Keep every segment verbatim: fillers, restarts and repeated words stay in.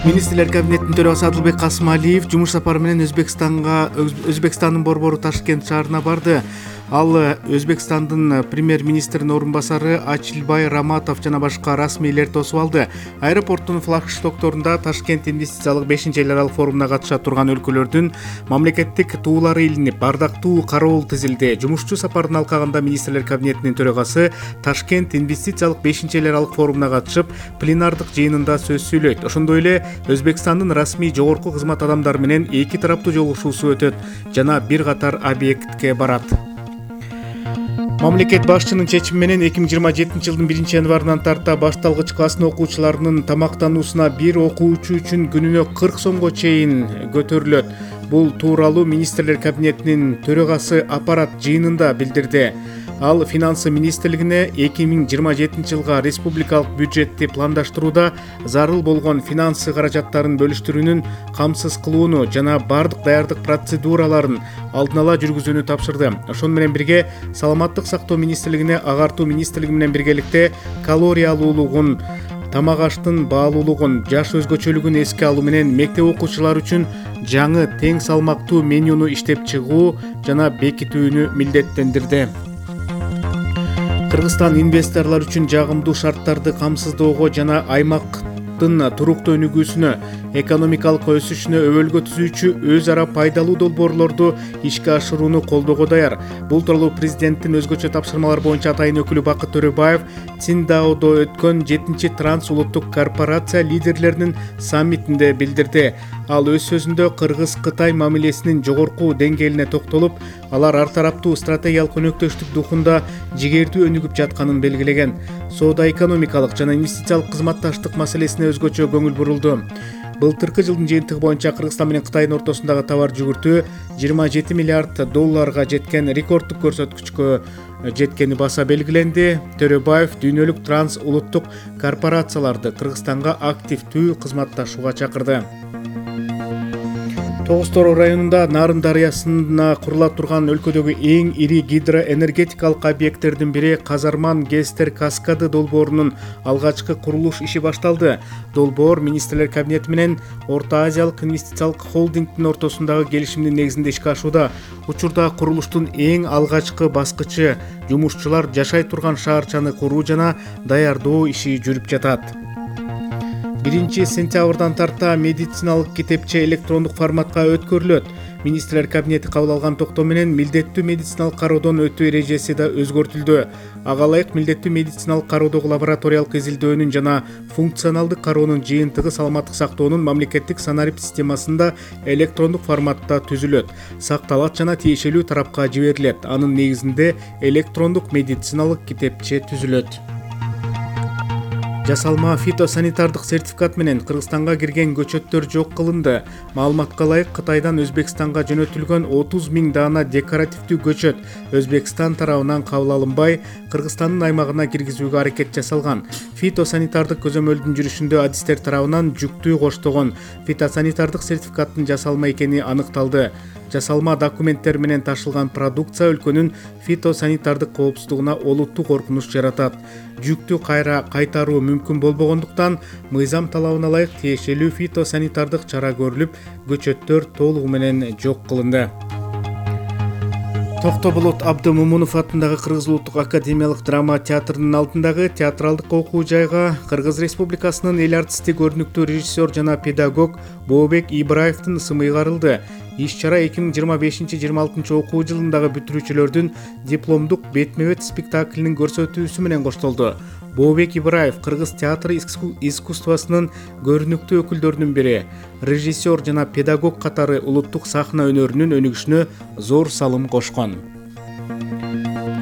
Министрлер кабинетинин төрагасы Адылбек Касымалиев жумуш сапары менен Өзбекстанга Өзбекстандын борбору Ташкент шаарына барды. Ал Өзбекстандын премьер-министринин орун басары Ачилбай Раматов жана башка расмийлер тосуп алды. Аэропорттун флагштокторунда Ташкент инвестициялык бешинчи эл аралык форумуна катыша турган өлкөлөрдүн мамлекеттик туулары илинип, бардактуу кароол тизилди. Жумушчу сапардын алкагында Министрлер кабинетинин төрагасы Ташкент инвестициялык бешинчи эл аралык форумуна катышып, пленардык жыйынында сөз сүйлөйт. Ошондой эле Өзбекстандын расмий жогорку кызмат адамдары менен эки тараптуу жолугушуусу өтөт жана бир катар объектке барат. Мамлекет башчынын чечими менен эки миң жыйырма жетинчи жылдын биринчи январынан тарта башталгыч класстын окуучуларынын тамактануусуна бир окуучу үчүн күнүнө кырк сомго чейин көтөрүлөт. Бул тууралуу Министрлер кабинетинин төрагасы аппарат жыйынында билдирди. Ал Финансы министрлигине эки миң жыйырма жетинчи жылга республикалык бюджетти пландаштырууда зарыл болгон финансы каражаттарын бөлүштүрүүнүн камсыз кылууну жана бардык даярдык процедураларын алдын ала жүргүзүүнү тапшырды. Ошону менен бирге Саламаттык сактоо министрлигине агартуу министрлиги менен биргеликте калориялуулугун, тамак аштын баалуулугун, жаш өзгөчөлүгүн эске алуу менен мектеп окуучулары үчүн жаңы тең салмактуу менюну иштеп чыгуу жана бекитүүнү милдеттендирди. Кыргызстан инвесторлор үчүн жагымдуу шарттарды камсыздоого жана аймактын туруктуу өнүгүүсүнө, экономикалык өсүшүнө өбөлгө түзүүчү өз ара пайдалуу долбоорлорду ишке ашырууну колдоого даяр. Бул тууралуу президенттин өзгөчө тапшырмалар боюнча атайын өкүлү Бакыт Төрөбаев Циндаодо өткөн жетинчи транс улуттук корпорация лидерлеринин саммитинде билдирди. Ал өз сөзүндө Кыргыз-Кытай мамилесинин жогорку деңгээлине токтолуп, алар ар тараптуу стратегиялык өнөктөштүк духунда жигердүү өнүгүп жатканын белгилеген. Соода-экономикалык жана инвестициялык кызматташтык маселесине өзгөчө көңүл бурулду. Былтыркы жылдын жыйынтыгы боюнча Кыргызстан менен Кытайдын ортосундагы товар жүгүртүү жыйырма жети миллиард долларга жеткен рекорддук көрсөткүчкө жеткени баса белгиленди. Төрөбаев дүйнөлүк транс улуттук корпорацияларды Кыргызстанга активдүү кызматташууга чакырды. Тогуз Тороо районунда Нарын дарыясына курула турган өлкөдөгү эң ири гидроэнергетикалык объекттердин бири Казарман ГЭСтер каскады долбоорунун алгачкы курулуш иши башталды. Долбоор Министрлер кабинети менен Орто Азиялык инвестициялык холдингдин ортосундагы келишимдин негизинде ишке ашууда. Учурда курулуштун эң алгачкы баскычы жумушчулар жашай турган шаарчаны куруу жана даярдоо иши жүрүп жатат. биринчи сентябрдан тарта медициналык китепче электрондук форматка өткөрүлөт. Министрлер кабинети кабыл алган токтом менен милдеттүү медициналык кароодон өтүү эрежеси да өзгөртүлдү. Ага ылайык милдеттүү медициналык кароодогу лабораториялык изилдөөнүн жана функционалдык кароонун жыйынтыгы саламаттык сактоонун мамлекеттик санарип системасында электрондук форматта түзүлөт, сакталат жана тиешелүү тарапка жиберилет. Анын негизинде электрондук медициналык китепче түзүлөт. Жасалма фитосанитардык сертификат менен Кыргызстанга кирген көчөттөр жок кылынды. Маалыматка ылайык Кытайдан Өзбекстанга жөнөтүлгөн отуз миң даана декоративдүү көчөт Өзбекстан тарабынан кабыл алынбай, Кыргызстандын аймагына киргизүүгө аракет жасалган. Фитосанитардык көзөмөлдүн жүрүшүндө адистер тарабынан жүктүү коштогон фитосанитардык сертификаттын жасалма экени аныкталды. Жасалма документтер менен ташылган продукция өлкөнүн фитосанитардык коопсуздугуна олуттуу коркунуч жаратат. Жүктү кайра кайтаруу мүмкүн болбогондуктан, мыйзам талабына ылайык тиешелүү фитосанитардык чара көрүлүп, көчөттөр толугу менен жок кылынды. Токтоболот Абдымомунов атындагы Кыргыз улуттук академиялык драма театрынын алдындагы театралдык окуу жайга Кыргыз Республикасынын эл артисти, көрүнүктүү режиссер жана педагог Бообек Ибраевдин ысымы ыйгарылды. Иш-чара эки миң жыйырма бешинчи жыйырма алтынчы окуу жылындагы бүтүрүүчүлөрдүн дипломдук бетме-бет спектаклинин көрсөтүүсү менен коштолду. Бообек Ибраев кыргыз театр искусствосунун көрүнүктүү өкүлдөрүнүн бири, режиссер жана педагог катары улуттук сахна өнөрүнүн өнүгүшүнө зор салым кошкон.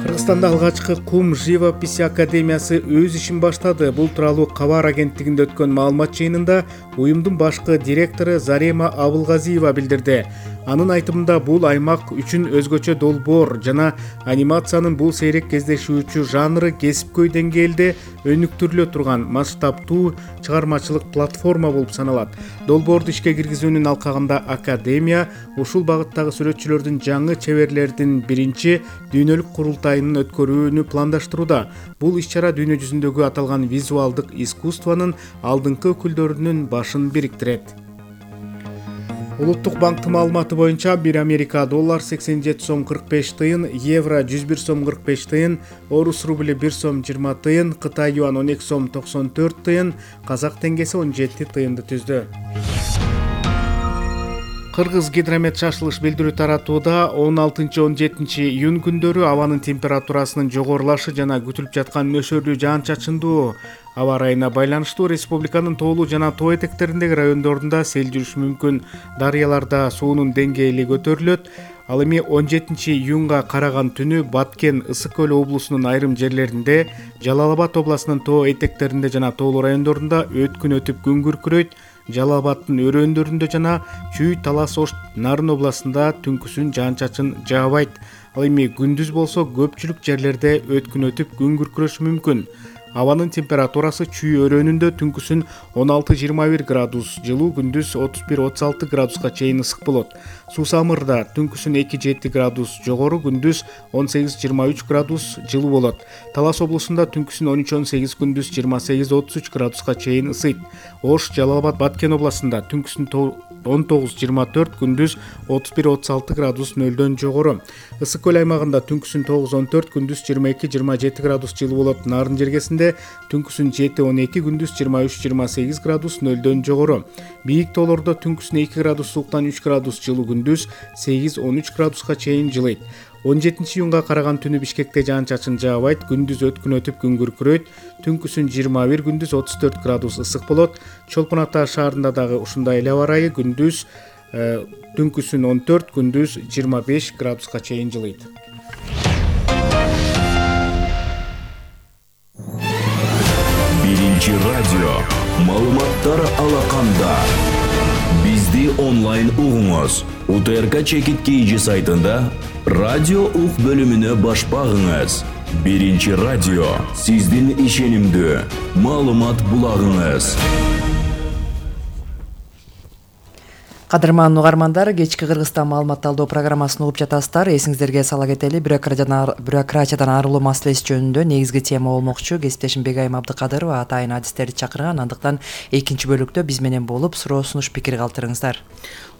Кыргызстанда алгачкы кум живописи академиясы өз ишин баштады. Бул тууралуу Кабар агенттигинде өткөн маалымат жыйынында уюмдун башкы директору Зарема Абылгазиева билдирди. Анын айтымында бул аймак үчүн өзгөчө долбоор жана анимациянын бул сейрек кездешүүчү жанры кесипкөй деңгээлде өнүктүрүлө турган масштабтуу чыгармачылык платформа болуп саналат. Долбоорду ишке киргизүүнүн алкагында академия ушул багыттагы сүрөтчүлөрдүн жаңы чеберлердин биринчи дүйнөлүк курултайынын иш-чараларын өткөрүүнү пландаштырууда. Бул иш-чара дүйнө жүзүндөгү аталган визуалдык искусствонун алдыңкы өкүлдөрүнүн башын бириктирет. Улуттук банктын маалыматы боюнча бир Америка доллар сексен жети сом кырк беш тыйын, евро жүз бир сом кырк беш тыйын, орус рубли бир сом жыйырма тыйын, Кытай юан он эки сом токсон төрт тыйын, казак теңгеси он жети тыйынды түздү. Кыргыз гидромет шашылыш билдирүү таратууда он алтынчы он жетинчи июнь күндөрү абанын температурасынын жогорулашы жана күтүлүп жаткан нөсөрлүү жаан-чачындуу аба ырайына байланыштуу республиканын тоолуу жана тоо этектериндеги райондорунда сел жүрүшү мүмкүн. Дарыяларда суунун деңгээли көтөрүлөт. Ал эми он жетинчи июнга караган түнү Баткен, Ысык көл облусунун айрым жерлеринде, Жалал Абад областынын тоо этектеринде жана тоолуу райондорунда өткүн өтүп күн күркүрөйт. Жалал Абадтын өрөөндөрүндө жана Чүй, Талас, Ош, Нарын областында түнкүсүн жаан-чачын жаабайт. Ал эми күндүз болсо көпчүлүк жерлерде өткүн өтүп күн күркүрөшү мүмкүн. Абанын температурасы Чүй өрөөнүндө түнкүсүн он алты жыйырма бир градус жылуу, күндүз отуз бир отуз алты градуска чейин ысык болот. Суу-Самырда түнкүсүн эки жети градус жогору, күндүз он сегиз жыйырма үч градус жылуу болот. Талас облусунда түнкүсүн он үч он сегиз, күндүз жыйырма сегиз отуз үч градуска чейин ысыйт. Ош, Жалал Абад, Баткен областында түнкүсүн он тогуз жыйырма төрт, күндүз отуз бир отуз алты градус нөлдөн жогору. Ысык көл аймагында түнкүсүн тогуз он төрт, күндүз жыйырма эки жыйырма жети градус жылуу болот. Нарын жергесинде түнкүсүн жети он эки, күндүз жыйырма үч жыйырма сегиз градус нөлдөн жогору. Бийик тоолордо түнкүсүн эки градус сууктан үч градус жылуу, күндүз сегиз он үч градуска чейин жылыйт. он жетинчи июнга караган түнү Бишкекте жаан-чачын жаабайт, күндүз өткүн өтүп күн күркүрөйт. Түнкүсүн жыйырма бир, күндүз отуз төрт градус ысык болот. Чолпон Ата шаарында дагы ушундай эле аба ырайы, күндүз түнкүсүн он төрт, күндүз жыйырма беш градуска чейин жылыйт. Биринчи радио маалыматтар алаканда. Бизди онлайн угуңуз. УТРК Чекит Кейджи сайтында радио ук бөлүмүнө баш багыңыз. Биринчи радио сиздин ишенимдүү маалымат булагыңыз. Кадырман угармандар, кечки Кыргызстан маалымат талдоо программасын угуп жатасыздар. Эсиңиздерге сала кетели, бюрократиядан арылуу маселеси жөнүндө негизги тема болмокчу. Кесиптешим Бегайым Абдыкадырова атайын адистерди чакырган. Андыктан экинчи бөлүктө биз менен болуп, суроо сунуш пикир калтырыңыздар.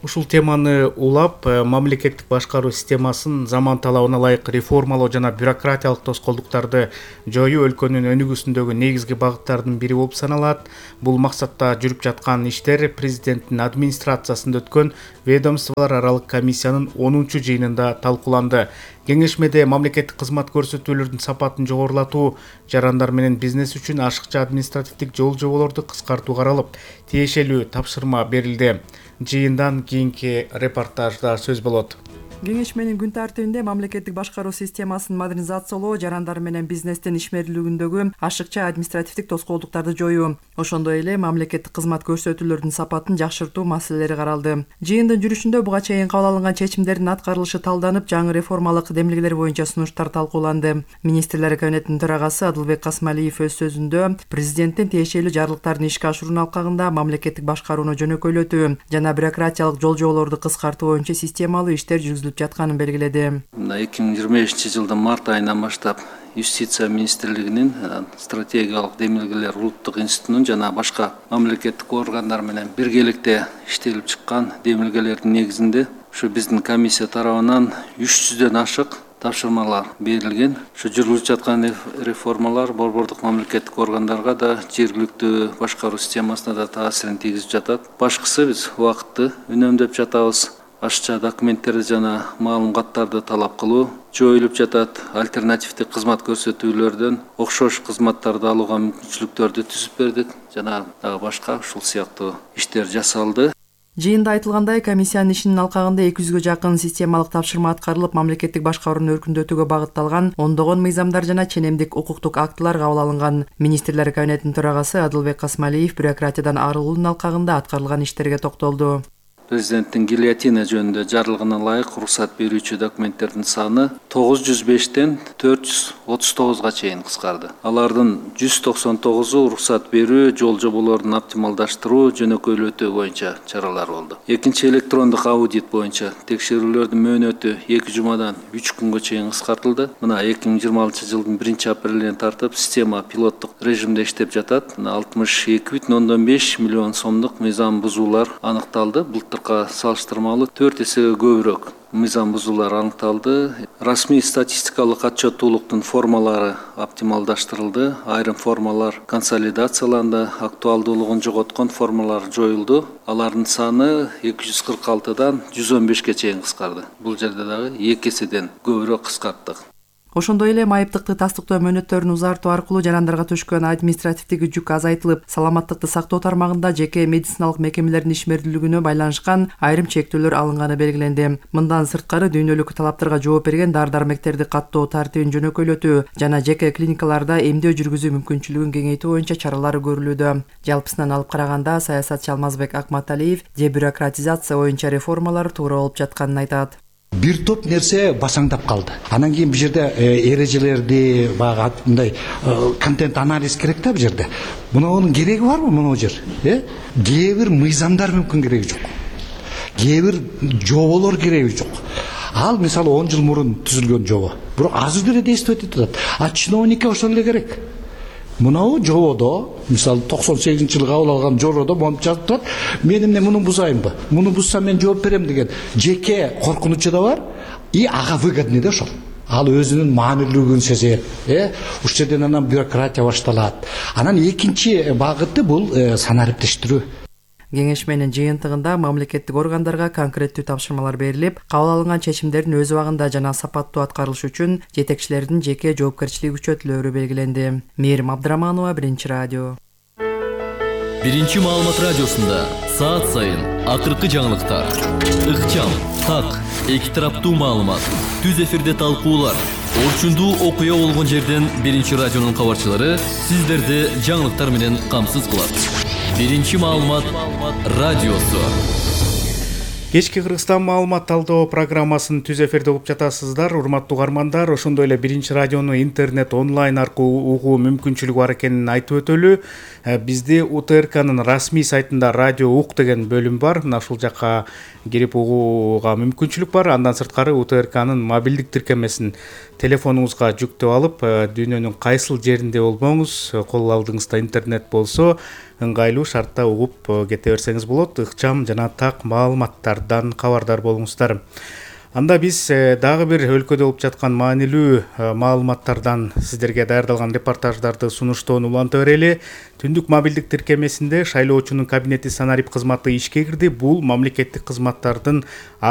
Ушул теманы улап, мамлекеттик башкаруу системасын заман талабына ылайык реформалоо жана бюрократиялык тоскоолдуктарды жоюу өлкөнүн өнүгүүсүндөгү негизги багыттардын бири болуп саналат. Бул максатта жүрүп жаткан иштер президенттин администрациясында өткөн ведомстволор аралык комиссиянын онунчу жыйынында талкууланды. Кеңешмеде мамлекеттик кызмат көрсөтүүлөрдүн сапатын жогорулатуу, жарандар менен бизнес үчүн ашыкча административдик жол жоболорду кыскартуу каралып, тиешелүү тапшырма берилди. Жыйындан кийинки репортажда сөз болот. Кеңешменин күн тартибинде мамлекеттик башкаруу системасын модернизациялоо, жарандар менен бизнестин ишмерлүүлүгүндөгү ашыкча административдик тоскоолдуктарды жоюу, ошондой эле мамлекеттик кызмат көрсөтүүлөрдүн сапатын жакшыртуу маселелери каралды. Жыйындын жүрүшүндө буга чейин кабыл алынган чечимдердин аткарылышы талданып, жаңы реформалык демилгелер боюнча сунуштар талкууланды. Министрлер кабинетинин төрагасы Адылбек Касмалиев өз сөзүндө президенттин тиешелүү жарлыктарын ишке ашыруунун алкагында мамлекеттик башкарууну жөнөкөйлөтүү жана бюрократиялык жол жоболорду кыскартуу боюнча системалуу иштер жүргүзүлүп жатканын белгиледи. эки миң жыйырма бешинчи жылдын март айынан баштап Юстиция министрлигинин стратегиялык демилгелер улуттук институтунун жана башка мамлекеттик органдар менен биргеликте иштелип чыккан демилгелердин негизинде ушу биздин комиссия тарабынан үч жүздөн ашык тапшырмалар берилген. Ушу жүргүзүлүп жаткан реформалар борбордук мамлекеттик органдарга да, жергиликтүү башкаруу системасына да таасирин тийгизип жатат. Башкысы биз убакытты үнөмдөп жатабыз. Ашыкча документтерди жана маалым каттарды талап кылуу жоюлуп жатат. Альтернативдик кызмат көрсөтүүлөрдөн окшош кызматтарды алууга мүмкүнчүлүктөрдү түзүп бердик жана дагы башка ушул сыяктуу иштер жасалды. Жыйында айтылгандай, комиссиянын ишинин алкагында эки жүзгө жакын системалык тапшырма аткарылып, мамлекеттик башкарууну өркүндөтүүгө багытталган ондогон мыйзамдар жана ченемдик укуктук актылар кабыл алынган. Министрлер кабинетинин төрагасы Адылбек Касмалиев бюрократиядан арылуунун алкагында аткарылган иштерге токтолду. Президенттин гильотина жөнүндө жарлыгына ылайык уруксат берүүчү документтердин саны тогуз жүз бештен төрт жүз отуз тогузга чейин кыскарды. Алардын жүз токсон тогузу уруксат берүү, жол жоболордун оптималдаштыруу, жөнөкөйлөтүү боюнча чаралар болду. Экинчи электрондук аудит боюнча текшерүүлөрдүн мөөнөтү эки жумадан үч күнгө чейин кыскартылды. Мына эки миң жыйырма алтынчы жылдын биринчи апрелинен тартып система пилоттук режимде иштеп жатат. алтымыш эки бүтүн ондон беш миллион сомдук мыйзам бузуулар аныкталды. Былтыркы салыштырмалуу төрт эсеге көбүрөөк мыйзам бузуулар аныкталды. Расмий статистикалык отчеттуулуктун формалары оптималдаштырылды. Айрым формалар консолидацияланды, актуалдуулугун жоготкон формалар жоюлду. Алардын саны эки жүз кырк алтыдан жүз он бешке чейин кыскарды. Бул жерде дагы эки эседен көбүрөөк кыскарттык. Ошондой эле майыптыкты тастыктоо мөөнөттөрүн узартуу аркылуу жарандарга түшкөн административдик жүк азайтылып, саламаттыкты сактоо тармагында жеке медициналык мекемелердин ишмердүүлүгүнө байланышкан айрым чектөөлөр алынганы белгиленди. Мындан сырткары дүйнөлүк талаптарга жооп берген дары-дармектерди каттоо тартибин жөнөкөйлөтүү жана жеке клиникаларда эмдөө жүргүзүү мүмкүнчүлүгүн кеңейтүү боюнча чаралар көрүлүүдө. Жалпысынан алып караганда саясатчы Алмазбек Акматалиев дебюрократизация боюнча реформалар туура болуп жатканын айтат. Бир топ нерсе басаңдап калды. Анан кийин бул жерде эрежелерди, баягы мындай контент анализ керек да бул жерде. Мунун кереги барбы муну жер? Э? Кээ бир мыйзамдар мүмкүн кереги жок. Кээ бир жоболор кереги жок. Ал мисалы он жыл мурун түзүлгөн жобо. Бирок азыр деле действовать этип атат. А чиновникке ошол эле керек. Мынау жободо, мисалы токсон сегизинчи жылы кабыл алган жободо монуп жазып турат. Мен эмне муну бузайынбы? Муну бузсам мен жооп берем деген жеке коркунучу да бар. И ага выгодный да ошол. Ал өзүнүн маанилүүлүгүн сезет. Э, ушул жерден анан бюрократия башталат. Анан экинчи багыты бул санариптештирүү. Кеңешменин жыйынтыгында мамлекеттик органдарга конкреттүү тапшырмалар берилип, кабыл алынган чечимдердин өз убагында жана сапаттуу аткарылышы үчүн жетекчилердин жеке жоопкерчилиги күчөтүлөөрү белгиленди. Мээрим Абдыраманова, Биринчи радио. Биринчи маалымат радиосунда саат сайын акыркы жаңылыктар, ыкчам, так, эки тараптуу маалымат, түз эфирде талкуулар, орчундуу окуя болгон жерден Биринчи радионун кабарчылары сиздерди жаңылыктар менен камсыз кылат. Биринчи маалымат радиосу. Кечки Кыргызстан маалымат талдоо программасын түз эфирде угуп жатасыздар. Урматтуу угармандар, ошондой эле Биринчи радиону интернет онлайн аркылуу угуу мүмкүнчүлүгү бар экенин айтып өтөлү. Бизде У Т Р Кнын расмий сайтында радио ук деген бөлүм бар. Мына ушул жакка кирип угууга мүмкүнчүлүк бар. Андан сырткары У Т Р Кнын мобилдик тиркемесин телефонуңузга жүктөп алып, дүйнөнүн кайсыл жеринде болбоңуз, кол алдыңызда интернет болсо, ыңгайлуу шартта угуп кете берсеңиз болот. Ыкчам жана так маалыматтардан кабардар болуңуздар. Анда биз дагы бир өлкөдө болуп жаткан маанилүү маалыматтардан сиздерге даярдалган репортаждарды сунуштоону уланта берели. Түндүк мобилдик тиркемесинде шайлоочунун кабинети санарип кызматы ишке кирди. Бул мамлекеттик кызматтардын